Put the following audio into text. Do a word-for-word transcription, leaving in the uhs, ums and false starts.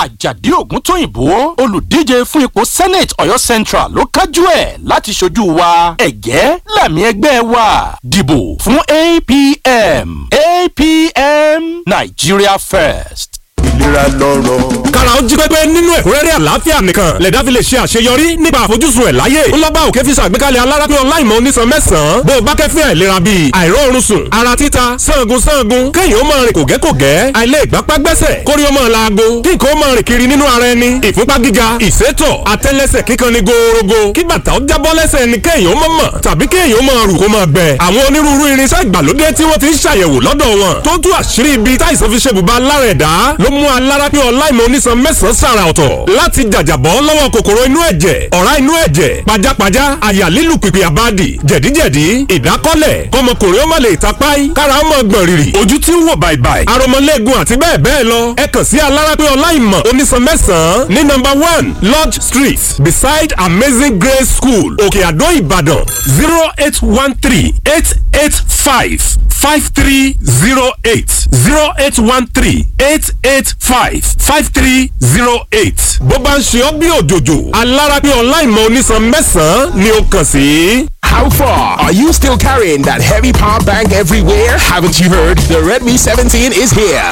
Àjàdí Ògúntóyìnbó, olùdíje fún ipò Senate Ọ̀yọ́ Central, ló kájú ẹ̀ láti ṣojú wa. Ẹ̀gẹ́ làmì ẹgbẹ́ wa. Dìbò fún A P M. A P M, Nigeria First. Ìlera lọ́rọ̀. Kára ó jí pépé nínú ẹ̀kúnrẹ́rẹ́ àlàáfíà nìkan lẹ̀dá fi lè ṣe àṣeyọrí nípa àfojúsùn ẹ̀ láyé. Ńlọ́ba òkè fi ṣàgbékalẹ̀ alárápín ọláìmọ̀ onísan mẹ́sàn-án bó o bá kẹ́fín àìlera bíi àìróorun sùn, ara títa, sangun sangun, kéèyàn ó máa rìn kògẹ́kògẹ́, àìlè ìgbápá gbẹ́sẹ̀, kórí ó máa laago, kí nǹkan ó máa rìn kiri nínú ara ẹni, ìfúnpá gíga, ìsétọ̀, àtẹ́lẹsẹ̀ kíkan ni gòòrògò, kí bàtà ó jábọ́ lẹ́sẹ̀ ẹni, kéèyàn ó máa mọ̀ tàbí kéèyàn ó máa rù kó máa gbẹ. Àwọn onírúurú irinṣẹ́ ìgbàlódé tí wọ́n ti ń ṣàyẹ̀wò lọ́dọ̀ wọn tó ń tú àṣírí ibi táìsàn fi ṣe bùbá lára ẹ̀dá ló mú alárápín ọláìmọ̀ onísan mẹ́sàn-án sàrà ọ̀tọ̀ láti jàjàbọ́ lọ́wọ́ kòkòrò inú ẹ̀jẹ̀, ọ̀rá inú ẹ̀jẹ̀, pajápajá, àyà lílù pìpì àbádì, jẹ̀díjẹ̀dí, ìdákọ́lẹ̀, kọmọkùnrin ó má lè tapáì, kára ó mọ̀ gbọ̀n rìrì, ojú tí ń wò bàìbàì, aromọlẹ́gun àti bẹ́ẹ̀ bẹ́ẹ̀ lọ. Ẹ kàn sí alárápín ọláìmọ̀ onísan mẹ́sàn-án ní nọ́mbà one Lodge Street, beside Amazing Grace School, Òkè Àdó, Ìbàdàn, zero eight one three eight eight five five three zero eight, zero eight one three eight eight five five three zero eight. Bó bá ń ṣe ọ́ bí òjòjò, alárápín ọláìmọ̀ onísan mẹ́sàn-án ni ó kàn sí. How far? Are you still carrying that heavy power bank everywhere? Haven't you heard? The Redmi seventeen is here.